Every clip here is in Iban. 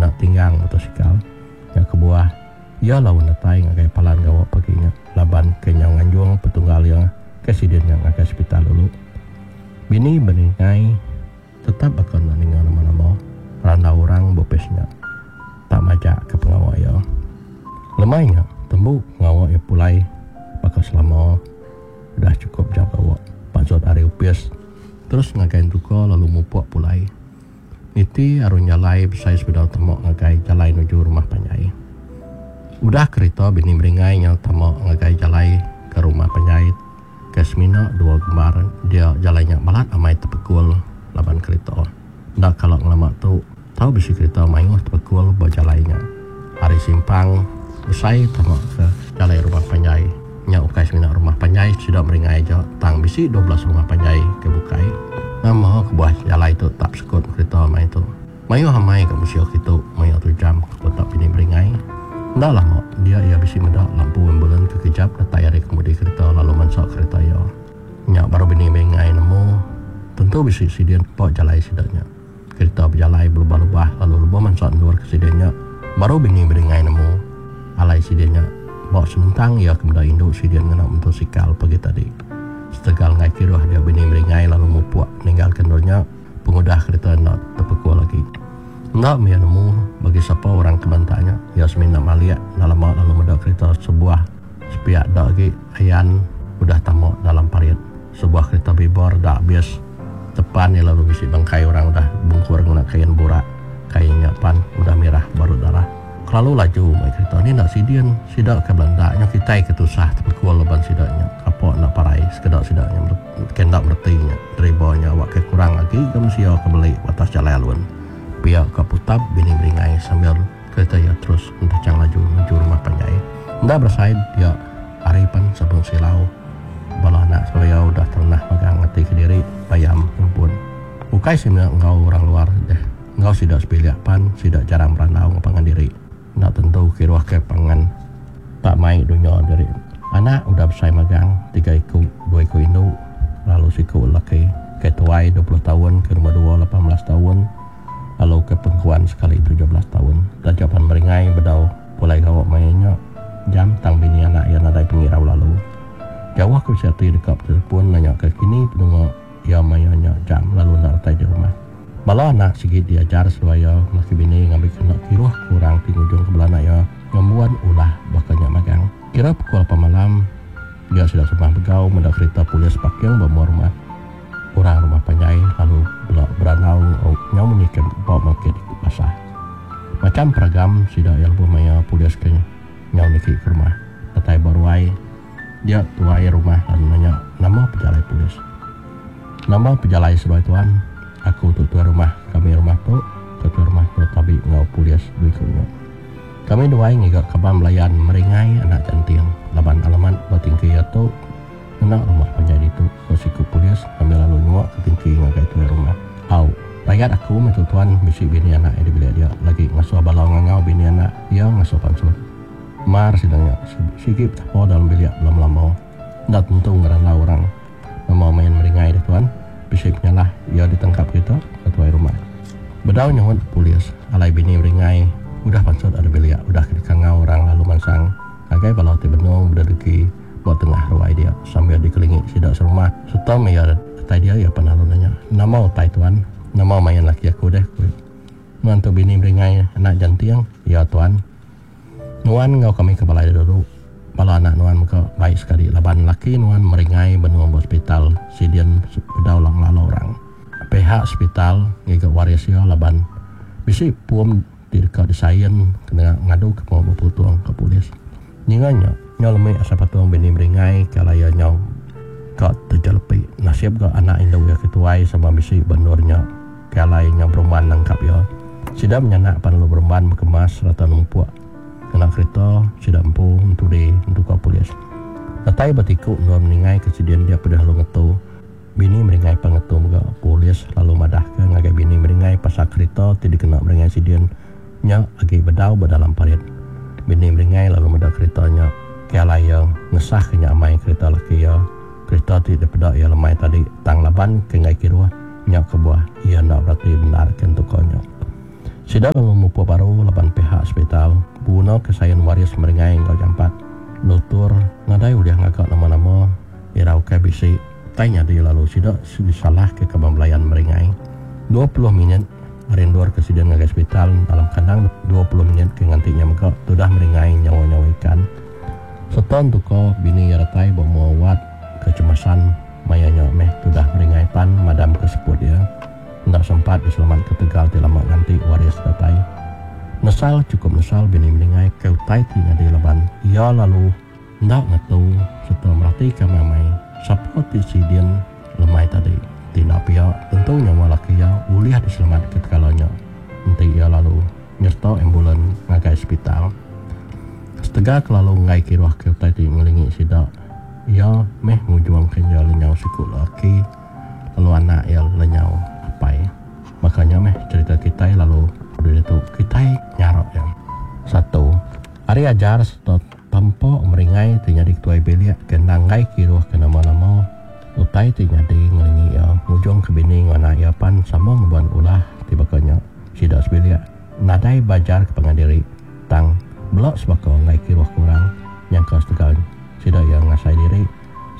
kena tinggang motosikal. Nya kebuah, iya laun datai ngagai palan gawa pagi nya laban ke nyau nganjung petunggal iya ke sidin nya ngagai sepital dulu. Bini Beningai tetap baka enda ninga nama-nama randau orang ba opis nya. Tak majak ke pengawa iya. Lemai nya, tembu pengawa iya pulai baka selama udah chukup jam gawa. Pansut ari opis terus ngagai entuka lalu mupuk pulai. Niti arung jalai besai sebedau tama ngagai jalai nuju rumah panjai. Udah kerita bini meringai nyau tama ngagai jalai ke rumah panjai ke semina dua gembar dia jalai nya balat amai tepekul laban kerita. Enda kala ngelama tu tau bisi kerita mayuh tepekul ba jalai nya. Ari simpang besai tama ke jalai rumah panjai nya ukai semina rumah panjai sida meringai aja tang bisi 12 rumah panjai ke bukai. Nama kebuah jalai tu tak sekut kerita amai tu. Mayuh amai ga mensia kitu maya tu jam ke kota pini meringai. Enda lama dia iya bisi meda lampu ambulan ke kejap datai ari kemudi kerita lalu mansa kerita iya. Nya baru bini meringai nemu tentu bisi sidin ba jalai sida nya. Kerita bejalai belubah-lubah lalu lebuh mansa endur ke sida nya, baru bini Beringai nemu alai sida nya ba senentang iya ke meda indu sida ngena motosikal pagi tadi. Setegal enggai kiruh dia bini Beringai lalu mupuk ninggalka endur nya pengudah kerita enda tepekul agi. Enda meh iya nemu bagi sapa orang ke banta nya, iya semina malik enda lama lalu meda kerita sebuah sepiak da agi ayan udah tama dalam parit. Sebuah kerita bibor da abis Tepan iya lalu bisi bangkai orang udah bungkur ngena kain burak. Kain nya pan udah mirah baru darah. Kelalu laju mai kerita ni enda sidin sida ke belanda nya kitai ke tusah tepekul laban sida nya kapa enda parai sekeda sida nya ke enda mereti nya deriba nya awak ke kurang agi ga mensia ke beli ba atas jalai alun. Pia ka putap bini beringai sambil kerita iya terus entechang laju nuju rumah panjai. Enda berasai dia hari pan sabung silau. Bala anak seruya udah terenah magang ati kediri bayam ngempun. Ukai semina enggau orang luar deh, enggau sida sebilik pan sida jarang berandau enggau pangan diri. Enda tentu kiruh ke pangan tak mai dunya diri. Anak udah besai magang, tiga iku, dua iku indu lalu siku lelaki. Ke tuai 20 taun, ke nombor dua 18 taun lalu ke pengkuan sekali 17 taun. Taja pan meringai bedau Pulai gawa maya nya, jam tang bini anak iya nadai pengirau lalu. Jauh ke bisi ati deka betelefon nanya ke kini penunga iya maya nya jam lalu enda datai di rumah. Bala anak sigi diajar seduai iya melaki bini ngambika enda kiruh ke orang ti ngujungka bala anak iya ngembuan ulah baka nya magang. Kira pukul lapan malam, dia sida serumah begau meda kerita polis parking ba mua rumah. Orang rumah panjai lalu bela berandau nyau munyi ke ba market basah. Macham peragam sida iya lebuh maya polis ke nyau niki ke rumah. Datai ba ruai, dia tuai rumah lalu nanya nama pejalai polis. Nama pejalai seduai tuan? Aku tu tuai rumah kami rumah tu, ke tuai rumah tu tabi enggau polis dua iku nya. Kami duai ngiga kaban belayan meringai anak janting laban alamat ba tingki iya tu. Ngena rumah panjai ditu, ko siku polis sambil lalu nyua ke tingki ngagai tuai rumah. Au, rayat aku meh tu tuan bisi bini anak iya di bilik dia lagi ngasuh bala ngangau bini anak iya ngasuh pansut. Mar sida nya sigi betapa dalam bilik belama-lama. Enda tentu ngerandau orang. Nama main meringai deh tuan, bisi penyalah iya ditangkap kita, ko tuai rumah. Bedau nyaut polis alai bini meringai udah pansut ari bilik udah ke dikangau orang lalu mansang ngagai bala ti benung bededegi. Ba tengah ruai dia sambil dikelingi sida serumah sereta meh iya datai dia iya pan lalu nanya, Nama utai tuan? Nama main laki aku deh? ku iya. Nuan tu bini Beringai anak Janting? Ya tuan. Nuan enggau kami ke balai dulu. Bala anak nuan mega bai sekali laban laki nuan Meringai benung ba sepital sidin bedau ngelala orang. Pihak sepital ngiga waris iya laban bisi pom ti deka disain kena ngaduka pengawa beputung ke polis. Ninga nya, nyau lemi asai patung bini Meringai ke alai iya nyau ka tejelepi. Nasib ga anak indu iya ke tuai sama bisi ba endur nya ke alai nyau berumban nangkap iya. Sida menyanak pan lalu berumban bekemas sereta numpuk ngena kerita sida empu entudi entuka polis. Datai ba tiku endur Meringai ke sidin dia pedih lalu ngetu. Bini Meringai pan ngetu mega. Polis lalu madahka ngagai bini Meringai pasal kerita ti dikena Meringai sidin nya agi bedau ba dalam parit. Bini Meringai lalu meda kerita nya ke alai iya ngesahka nya amai kerita laki iya. Kerita ti dipeda iya lemai tadi tang laban ke enggai kiruh nya kebuah iya enda berati bendar ke entuka nya. Sida lalu mupuk baru laban pihak sepital begunaka sain waris meringai enggau jampat. Lutur nadai ulih ngaga nama-nama irauka bisi tai nyadi lalu sida disalahka kaban belayan meringai. 20 minit ari endur ke sida ngagai sepital dalam kandang 20 minit ke nganti nya mega tudah meringai nyawa-nyawa ikan. Sereta entuka bini iya datai ba mua wad kecemasan maya nya meh tudah meringai pan madamka seput iya. Enda sempat diselamatka tegal ti lama nganti waris datai. Nesal chukup nesal bini meningai ke utai ti nyadi laban iya lalu enda ngetu sereta meratika amai-amai sapa ti sidin lemai tadi. Enti enda pia tentu nyawa laki iya ulih diselamatka tekala nya enti iya lalu nyereta ambulan ngagai sepital. Setegal kelalu enggai kiruh ke utai ti ngelingi sida, iya meh ngujungka iya lenyau siku lelaki. Lalu anak iya lenyau apai. Baka nya meh cherita kitai lalu udah ditu kitai nyarak iya. Satu, ari ajar sereta tampa meringai ti nyadi ketuai bilik ke endang enggai kiruh ke nama-nama utai ti nyadi ngelingi iya ngujung ke bini enggau anak iya pan sama ngembuan ulah ti baka nya. Sida sebilik nadai belajar ke pangan diri tang bela sebaka enggai kiruh ke orang nyangka setegal sida iya ngasai diri.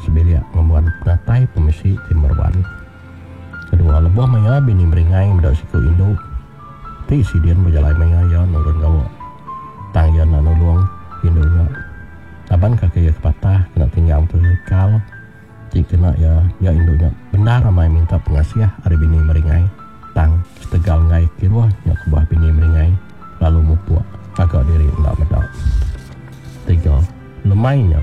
Sebilik ngembuan penatai pemisi ti meruan. Kedua, lebuh maya bini meringai meda siku indu ti sidin bejalai maya iya nurun gawa. Tang iya enda nulung indu nya laban kaki iya ke patah kena tinggang motosikal ti kena iya nya indu nya bendar amai minta pengasih ari bini meringai tang setegal enggai kiruh nya kebuah bini meringai lalu mupuk ngaga diri enda meda. Tiga, lemai nya.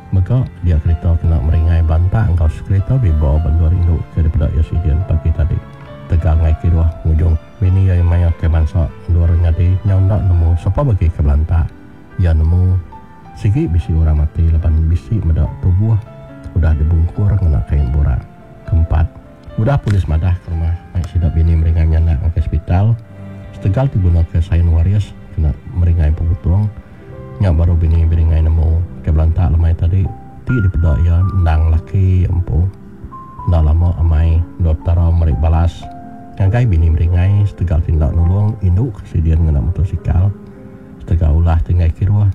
Mega dia kerita kena meringai banta enggau sekerita bibo ba endur indu ke dipeda iya sidin pagi tadi. Tegal ngai kiruh ngujung bini iya maya ke bansa endur nyadi nyau enda nemu sapa bagi ke belanta. Iya nemu sigi bisi orang mati laban bisi meda tubuh udah dibungkur ngena kain burak. Keempat, udah polis madah ke rumah mai sida bini meringai menyanak ngagai sepital setegal ti begunaka sain waris kena meringai beputung. Nya baru bini Biringai nemu ke belantak lemai tadi ti dipeda iya endang laki iya empu. Enda lama amai endur Petara meri balas ngagai bini Biringai setegal ti enda nulung indu ke sidin ngena motosikal. Setegal ulah ti enggai kiruh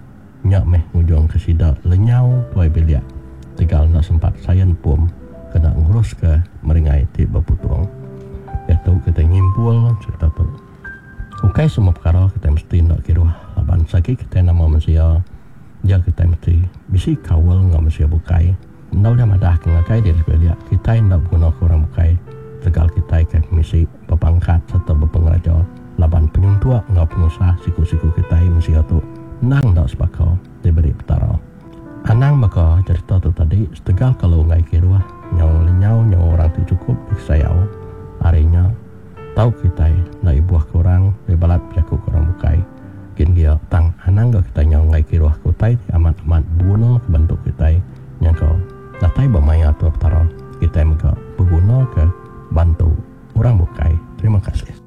nya meh ngujungka sida lenyau tuai bilik tegal enda sempat sain pom kena nguruska Meringai ti beputung. Diatu kitai nyimpul cherita tu. Ukai semua pekara kitai mesti enda kiruh laban sagi kitai nama mensia dia kitai mesti bisi kaul enggau mensia bukai. Enda ulih madah ke ngagai diri sebilik kitai enda begunaka orang bukai tegal kitai ke pemisi, bepangkat sereta bepengeraja laban penyuntuk enggau penusah siku-siku kitai mensia tu endang enda sebaka diberi Petara. Anang baka cherita tu tadi setegal kalu enggai kiruh nyau lenyau nyawa orang ti chukup dikesayau ari nya. Tau kitai enda ibuh ke orang lebih balat bejaku ke orang bukai gin gia tang anang ga kitai nyau enggai kiruh ke utai ti amat amat beguna ke bantu kitai nyangka datai ba maya atur Petara kitai mega beguna ke bantu orang bukai. Terima kasih.